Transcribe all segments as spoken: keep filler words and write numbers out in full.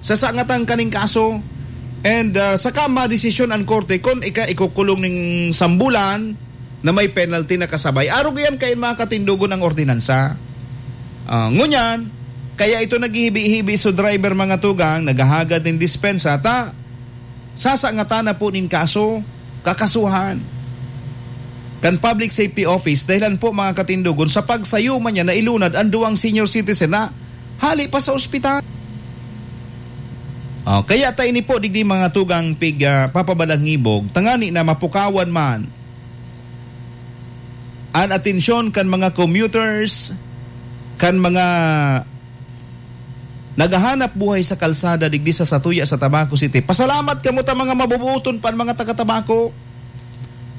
Sasangatan kaning kaso. And, ah, saka madesisyon an korte kun ika-, ikukulong ning sambulan na may penalty na kasabay. Arog iyan kain mga katindogon ang ordinansa. Ah, ngunyan, kaya ito naghihibi-hibi so driver, mga tugang, naghahagad nin dispensa, ta sasangatan na po nin kaso, kakasuhan kan Public Safety Office, dahilan po, mga katindogon, sa pagsayo man niya na ilunad ang duwang senior citizen na hali pa sa ospital. Oh, kaya ta ini po, digdi, mga tugang, pig, ah, papabalangibog, tangani na mapukawan man an atensyon kan mga commuters, kan mga naghahanap buhay sa kalsada digdi sa satuya sa Tabaco City. Pasalamat kamo ta mga mabubuoton pa an mga taga Tabaco.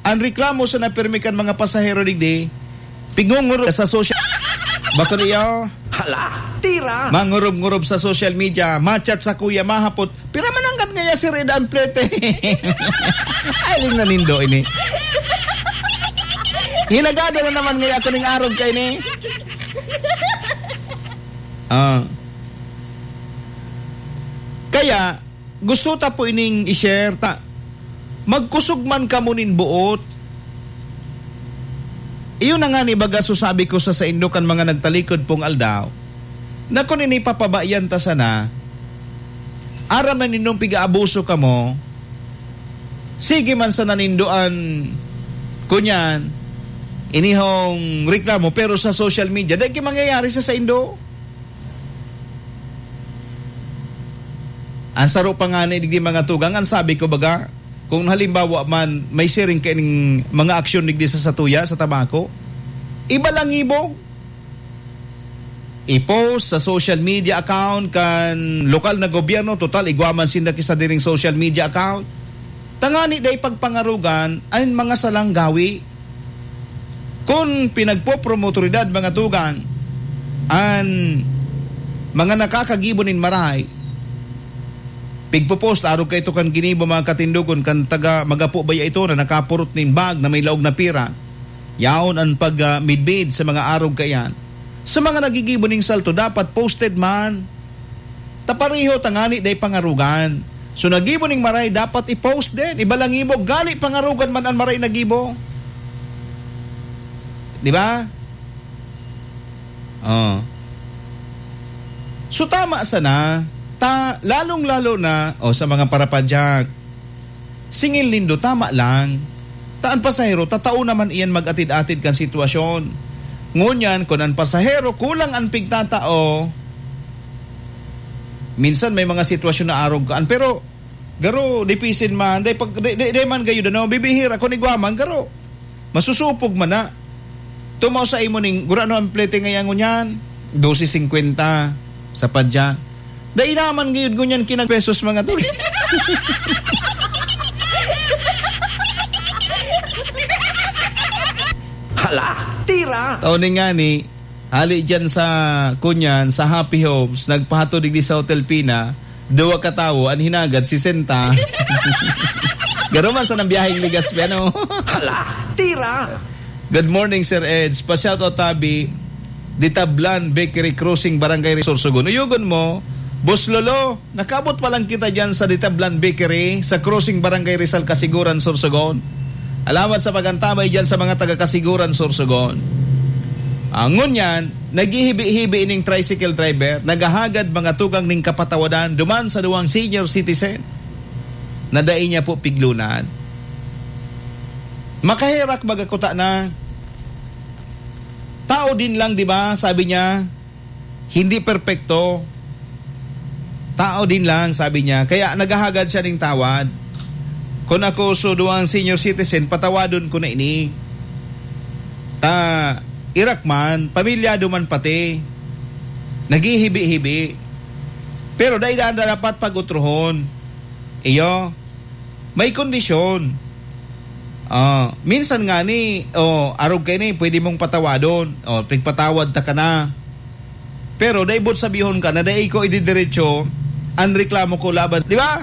An reklamo sa napirmi kan mga pasahero digdi, pigngungurog sa social, bako niyo? Hala, tira! Mangurub-ngurub sa social media, machat sa kuya, mahapot, "Pira man ang kan ngaya si Red Amplete?" Ay, ling nanindo ini. Hinagada na naman ngaya ako ning arog kaini. Ah. Kaya, gusto ta po ining i-share ta. Magkusog man kamo nin boot. Iyon na nga ni baga so sabi ko sa saindo kan mga nagtalikod pong aldaw, na kun ini papabayan ta sana, aram na nindong piga-abuso kamo, sige man sana nindo an, kunyan, inihong reklamo, pero sa social media, dai ki mangyayari sa saindo. An saro pa ngani digdi, mga tugang, an sabi ko baga, kung halimbawa man may siring kaining mga aksyon digdi sa satuya, sa Tabaco, ibalangibog. I-post sa social media account kan lokal na gobyerno, total igwa man sinda ki sadiring social media account. Tangani dai pagpangarogan an mga salang gawi. Kun pinagpopromotoridad, mga tugang, an mga nakakagibo nin maray, pigpo-post arog kaito kan ginibo, mga katindogon, kan taga Magapo baya ito na nakapurot nin bag na may laog na pira. Yaon an pag, ah, midbid sa mga arog kaiyan. Sa mga nagigibo ning salto, dapat posted man. Ta pareho tangani dai pangarogan. So, nagibo ning maray, dapat i-post din. Ibalangibog, gali pangarogan man an maray nagibo. Di ba? Oh. So, tama sana. Ta, lalong-lalo na, o, sa mga parapadyak. Singil nindo, tama lang. Ta an pasahero, tatao naman iyan mag-atid-atid kan sitwasyon. Ngunyan, kun an pasahero kulang an pigtatao, minsan may mga sitwasyon na arog kaan. Pero, garo, dipisin man, dai pag, dai, dai, dai man gayud, ano, bibihira, kun igwa man, garo. Masusupog man na. Tumaw sa imo ning, gurano ang plete ngayon ngunyan? Dose singkwenta sa padya. Dai naman gayud ngunyan kinag pesos, mga tol. Hala, tira! Tao ni ngani, hali dyan sa, kunyan, sa Happy Homes, nagpahatod digdi sa Hotel Pina, duwa ka tawo, an hinagad, sesenta. Garo man sa nang biyaheng ligas, ano? Hala, tira! Good morning, Sir Eds. Pa-shoutout tabi, Ditablan Bakery Crossing, Barangay Rizal, Sorsogon. Uyugon mo, Boss Lolo, nakabot pa lang kita dyan sa Ditablan Bakery, sa Crossing, Barangay Rizal, Kasiguran, Sorsogon. Alamat sa pagantabay dyan sa mga taga Kasiguran, Sorsogon. Ah, ngunyan, naghihibi-hibi ining tricycle driver, naghahagad mga tugang ning kapatawadan duman sa duwang senior citizen na dai niya po piglunan. Makaherak baga kuta na. Tao din lang, di ba? Sabi niya, hindi perpekto. Tao din lang, sabi niya. Kaya naghahagad siya ning tawad. Kun ako so duwang senior citizen, patawadon ko na ini. Ta, irak man, pamilyado man pati. Naghihibi-hibi. Pero dai na dapat pag-utrohon. Iyo, may kondisyon. Ah, minsan ngani, oh, arog kaini, pwede mong patawadon. Oh, pigpatawad ta ka na. Pero dai boot sabihon ka na dai ko ididiretso an reklamo ko laban, di ba?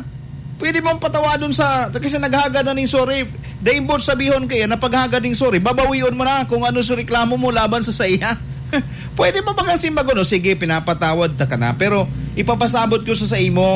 Pwede mong patawadon sa, kasi naghagad na ning sorry. Dai boot sabihon kaya na paghagad ning sorry, babawion mo na kung ano sa reklamo mo laban sa saiya. Pwede mo bang simbagon, "O sige, pinapatawad ta ka na, pero ipapasabot ko sa, sa imo,